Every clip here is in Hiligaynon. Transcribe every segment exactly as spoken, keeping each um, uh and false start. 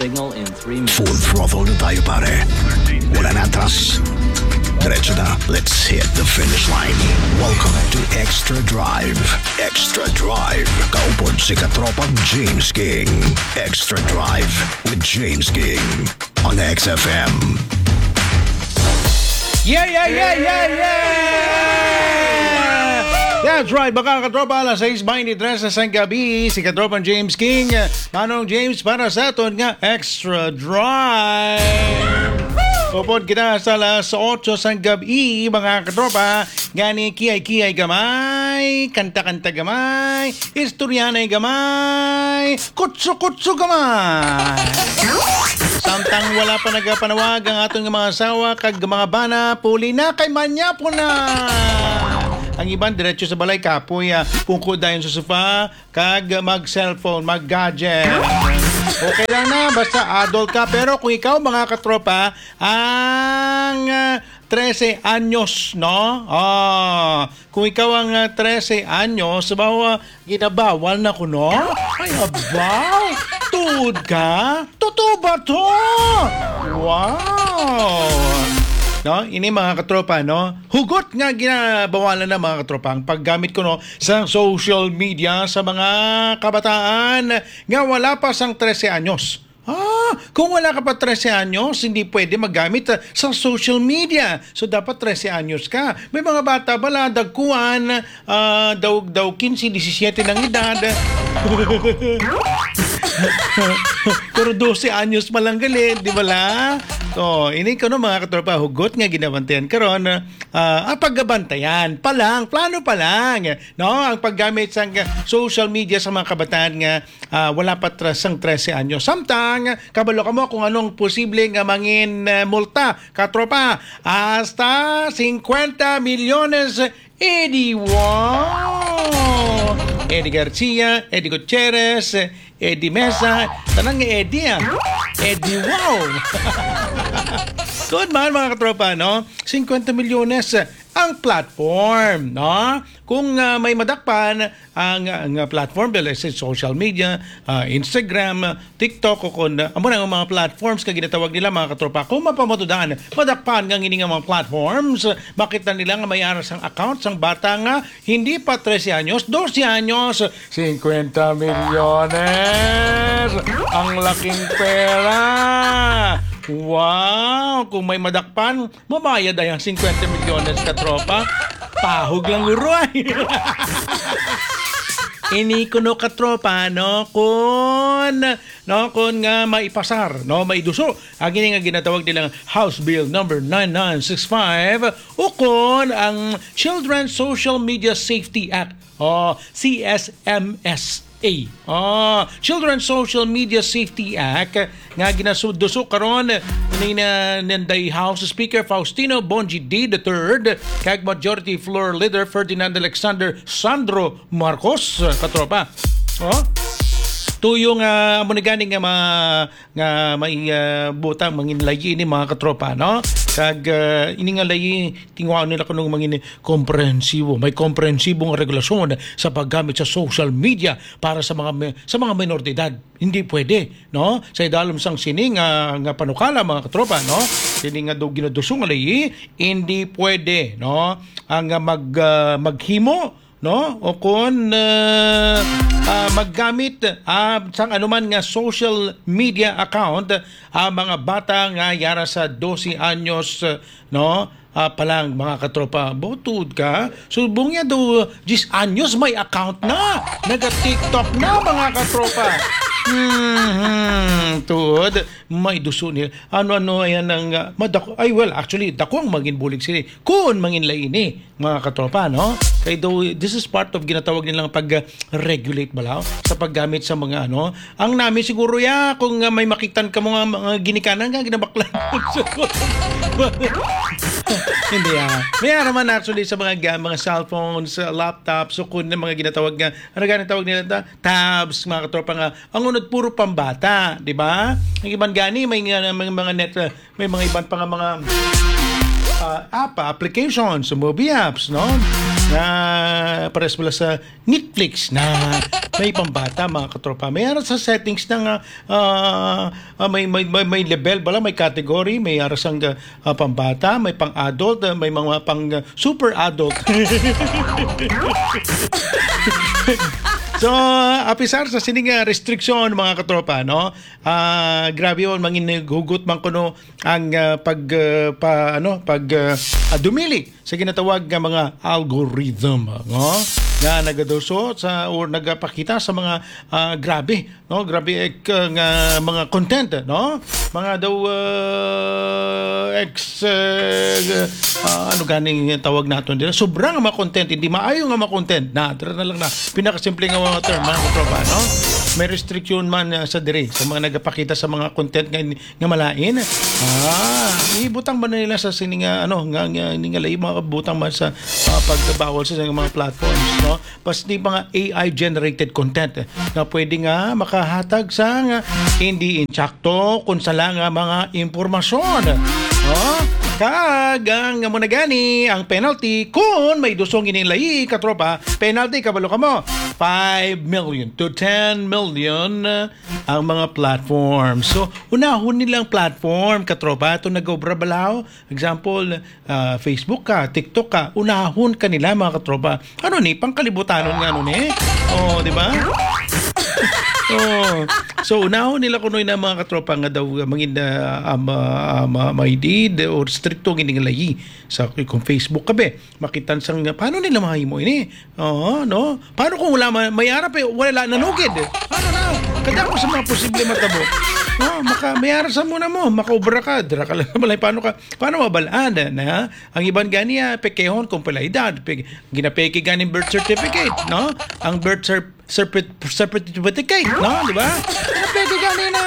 Signal in three minutes. Full throttle na tayo, pare. Wala na atras. Diretso na. Let's hit the finish line. Welcome to Extra Drive. Extra Drive. Kaupod si Katropang James King. Extra Drive with James King on X F M. Yeah, yeah, yeah, yeah, yeah! That's right, mga katropa, alas sais twenty-three na sang gabi, si Katropang James King, Manong James, para sa aton nga Extra Drive. Upod kita sa alas otso sang gabi, mga katropa, gani kiyay-kiyay gamay, kanta-kanta gamay, istoryanay gamay, kutso-kutso gamay. Samtang wala pa nagapanawag ang aton nga mga asawa kag mga bana, puli na kay manyapon na. Ang iban diretso sa balay, kapoy, ah, pungko dayon sa sofa, kag mag-cellphone, mag-gadget. Okay lang na, basta adult ka. Pero kung ikaw, mga katropa, ang, ah, trese anyos, no? Ah, kung ikaw ang, ah, trese anyos, bawa, ginabawal na ko, no? Ay, abaw! Tuod ka? Totoo ba to? Wow! No, ini, mga katropa, no? Hugot nga ginabawalan na, mga katropa, ang paggamit ko, no, sa social media sa mga kabataan nga wala pa sang trese anyos. Ah, kung wala ka pa trese anyos, hindi pwede maggamit, ah, sa social media. So, dapat trese anyos ka. May mga bata bala, dagkuan, ah, daw, daw quince, disisiete ng edad. Pero dose anyos pa lang gali, di ba la? So, ini ko, no, mga katropa, hugot nga ginabantayan karon, ah, ah, paggabantayan pa lang, plano pa lang, no? Ang paggamit sa social media sa mga kabataan nga, ah, wala pa tra-, sang trese anyos. Samtang, kabalo ka mo kung anong posible nga mangin, eh, multa, katropa, hasta cincuenta milyones. Eddie, wow! Eddie Garcia, Eddie Gutierrez, Eddie Mesa, tanang nga Eddie, ah. Eddie, wow! Good man, mga katropa, no? Cincuenta milyones ang platform, no? Kung, ah, may madakpan ang, ang, ah, platform, let's say, social media, ah, Instagram, ah, TikTok, o kung, ah, amo na ang mga platforms nga ginatawag nila, mga katropa. Kung mapamatudan, madakpan nga ngini nga mga platforms, makita nila nga may ara sang account sang bata nga hindi pa trese anyos, dose anyos, cincuenta milyones! Ang laking pera! Wow! Kung may madakpan, mabayad ay ang cincuenta milyones, katropa. Pahog lang, uroy. Ini kuno, katropa, no, kun, no, kun nga maipasar, no, maiduso ang ini nga ginatawag nilang House Bill number nine nine six five, ukon ang Children's Social Media Safety Act, o C S M S A. Ah, Children's Social Media Safety Act nga ginasuduso karon ni na, nanday House Speaker Faustino Bongie D the third kag Majority Floor Leader Ferdinand Alexander Sandro Marcos, katropa. Oh? Tuyo nga amo ni gani nga ma-, nga may, ah, butang mangin layi ini, mga katropa, no? Kag, ah, ini nga layi, tingwaon nila kuno mangin komprehensibo. May komprehensibo nga regulasyon sa paggamit sa social media para sa mga mi-, sa mga minor de edad. Hindi pwede, no? Sa idalom sang sini nga, nga panukala, mga katropa, no? Sini nga do ginaduso nga layi, hindi pwede, no? Ang, ah, mag, ah, maghimo, no? O kon, ah, ah, maggamit, ah, sang anuman nga social media account, ah, mga bata nga yara sa dose anyos, no? Ah, pa lang, mga katropa, butod ka. Subong niya do, diyes anyos may account na. Naga-TikTok na, mga katropa. Mhm, tuod, may duso niya. Ano-ano yan ang, ah, madako-, ay, well, actually, dako ang mangin bulig sini. Kun mangin laini, mga katropa, no? Kay do, this is part of ginatawag nilang pag-regulate bala sa paggamit sa mga, ano. Ang nami siguro ya, kung, ah, may makitan ka mga, mga ginikanan nga ginabaklan. Hindi, ah. May ara man actually sa mga ga-, mga cellphones, ah, laptops, o kun mga ginatawag nga, ano gani tawag nila ta? Tabs, mga katropa nga, ang unod puro pambata, di ba? Ang iban gani, may nga, may mga net, ah, may mga iban pa nga mga, ah, app, applications, movie apps, no? Nga pares bala sa Netflix na may pambata, mga katropa. May ara sa settings na nga, ah, ah, may, may, may, may level bala, may category, may ara sang, ah, pambata, may pang-adult, ah, may mga pang, ah, super adult. So, apisar sa sining, ah, restriksyon, mga katropa, no? Ah, grabe yun, mangin hugot man kuno ang, ah, pag, ah, pa, ano, pag, ah, ah, dumili sa ginatawag nga mga algorithm, no? Nga nagaduso sa, or nagapakita sa mga, ah, grabe, no? Grabe, eh, ka, nga mga content, no? Mga daw, ah, ex, ah, ah, ano ganing tawag naton dira? Sobra nga mga content, hindi maayo nga mga content. Na, dira na lang na. Pinakasimple nga mga term, mga katropa, no? May restriction man, ah, sa diri sa mga nagapakita sa mga content nga, nga malain. Ah, ibutang ba na nila sa sini nga, ano, nga, nga, ini nga lahi, mga butang man sa, ah, pagbabawal sa mga platforms, no? Pas di mga A I generated content, eh, nga pwede nga makahatag sa nga hindi insakto kung sala nga mga impormasyon. Oh, kag ang amo na gani ang penalty kung may dusong ining lahi, katropa, penalty, kabalo ka mo, five million to ten million, uh, ang mga platform. So, unahon nila ang platform, katropa, ato nag-obra balaw. Example, ah, Facebook ka, TikTok ka, unahon ka nila, mga katropa. Ano ni, pangkalibutanon nga, ano ni? Oh, di ba? Oh. So, unahon nila kuno na, mga katropa, nga daw, uh, mangin, uh, um, uh, um, uh, may did or stricto gini nga layi sa kung Facebook ka, be. Makitan sang, paano nila mahimo ini? Oo, no? Paano kung wala man, may ara pa, wala nanugid? Ano na? Kadako sa mga posible matabo. No? Maka, may ara sa muna mo, makaobra ka, dira ka lang sa balay, paano ka, paano mabalaan na? Ang iban gani, ah, pekehon kung pala edad, pe, ginapeke gani birth certificate, no? Ang birth cer-, certi-, certificate, no? Di ba? Ginapeke gani na.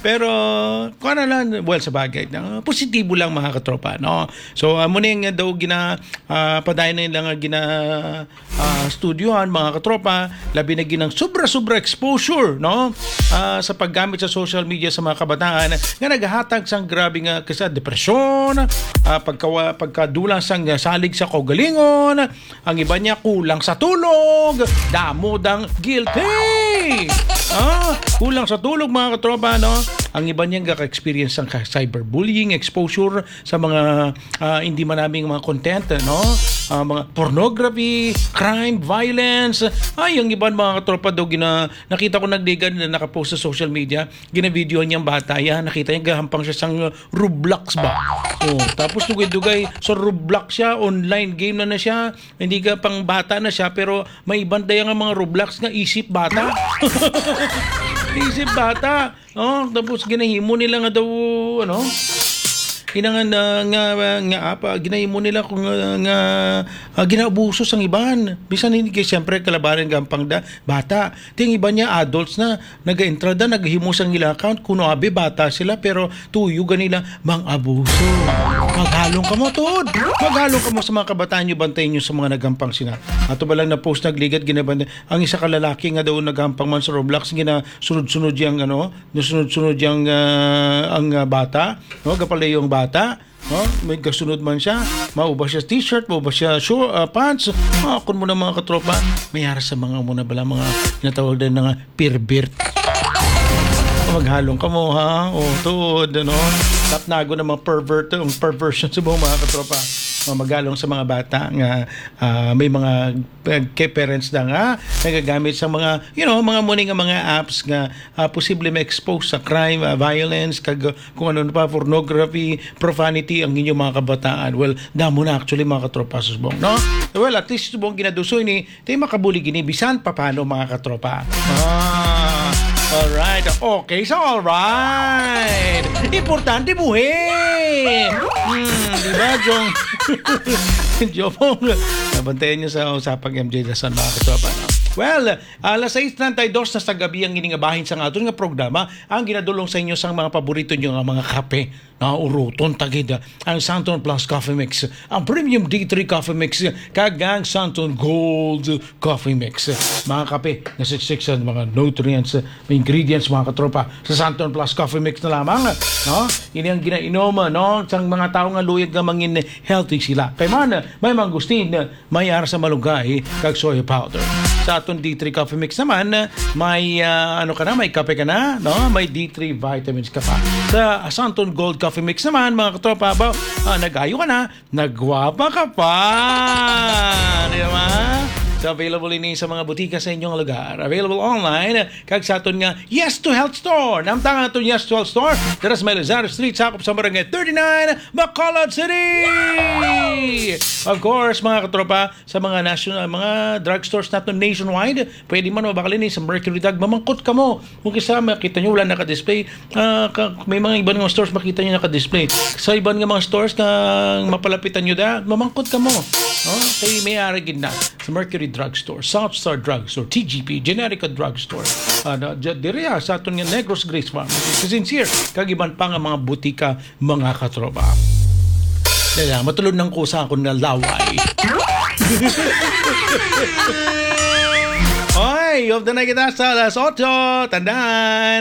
Pero, kuha na lang, well, sa bagay, no? Positibo lang, mga katropa, no? So, amo ni nga daw gina, ah, padayon na lang nga gina, ah, studyohan, mga katropa, labi na ginang sobra-sobra exposure, no? Ah, sa paggamit sa social media sa mga kabataan nga naghatag sang grabe nga kisa depresyon, ah, pagkawa-, pagkadulang sang salig sa kaugalingon, ang iban niya kulang sa tulog, damo dang guilty. Ah, kulang sa tulog, mga katropa, no? Ang iban niya gaka-experience sang ka-, cyberbullying, exposure sa mga, ah, hindi manaming mga content, no? Ah, mga pornography, crime, violence. Ay, ang iban, mga katropa, daw gina-, nakita ko nagligad na nakapost sa social media, ginavideo niyang bata, ya, nakita niya gahampang siya sang Roblox ba? Oh, tapos dugay-dugay sa Roblox siya, online game na na siya, hindi ka pang bata na siya, pero may iban daya nga mga Roblox nga isip bata. Isip bata. Oh, tapos ginahimo nila nga daw, ano, kinangan na nga, nga apa, ginahimo nila kung, nga, nga, ah, ginaabuso sang iban. Bisan hindi kay siyempre kalabanan gampang da, bata. Ting iban niya adults na, naga-entrada, naghimo sang ila account, kuno abi bata sila, pero tuyo ganila mang abuso. Maghalong kamo, tuod. Maghalong kamo sa mga kabataan nyo, bantay nyo sa mga nagampang sina. Ato ba lang na post nagligad, ginabantay. Ang isa ka lalaki nga daw nagampang man sa Roblox, ginasunod-sunod yang, ano, nasunod-sunod yang, ah, ang, ah, bata, no? Gapalayo ang bata, no? May gasunod man siya, mauba siya t-shirt, mauba siya short, ah, pants. Ah, kun mo na, mga katropa, may ara sa mga mo na bala, mga ginatawag din na nga pervert. Maghalong kamo, ha? O, tuod, ano? Tapnago ng mga pervert, ang perversion sa buong mga katropa. Mga maghalong sa mga bata nga, ah, may mga, eh, kay parents na nga nagagamit sa mga, you know, mga muni nga mga apps nga, ah, posible ma-expose sa crime, ah, violence, kag, ah, kung ano pa, pornography, profanity ang inyong mga kabataan. Well, damo na actually, mga katropa, subong, no? Well, at least subong ginadusoy ni Tay makabulig ini bisan papano, mga katropa. Ah, alright. Okay, so alright. Importante buhi. Hmm, di ba, Jong? Jopong, Nabantayan nyo sa usapang M J Dason, mga katropa, no? Well, alas sais treinta y dos na sa gabi ang ini nga bahin sang aton nga programa, ang ginadulong sa inyo sang mga paborito nyo nga mga kape. Nga uruton ta gid ang Santon Plus Coffee Mix, ang Premium D three Coffee Mix, kag ang Santon Gold Coffee Mix. Mga kape nga siksik sa mga nutrients, ingredients, mga katropa, sa Santon Plus Coffee Mix na lamang, no? Ini ang ginainom, no, sang mga tawo nga luyag nga mangin healthy sila. Kay man, may mangustin, may ara sa malunggay, kag soy powder. Sa aton D three Coffee Mix naman, may, ah, ano ka na, may kape ka na, no? May D three vitamins ka pa. Sa Santon Gold Coffee Mix naman, mga katropa, ba, ah, nag-ayo ka na, nagwapa ka pa. Di ba? So, available ini sa mga butika sa inyong lugar. Available online, kag sa aton nga Yes to Health Store. Namtang aton Yes to Health Store, dira sa may Lazaro Street, sakop sa Barangay thirty-nine, Bacolod City. Of course, mga katropa, sa mga national, mga drugstores naton nationwide, pwede man mabakalin sa Mercury Drug, mamangkot kamo. Kung kisa makita nyo, wala naka-display. Ah, ka, may mga iban nga stores makita nyo naka-display. Sa iban nga mga stores nga mapalapitan nyo da, mamangkot kamo. Oh, kay may ara gid na sa Mercury Drug Store, South Star Drug Store, T G P, Generica Drug Store. Ah, na, dya-, diri, ah, sa aton nga Negros Grace Farm, sa Sincere, kag iban pa nga mga butika, mga katropa. Kaya, matulod nang ko sa akon nga laway. Oy, of the night kita sa alas otso. Tandaan,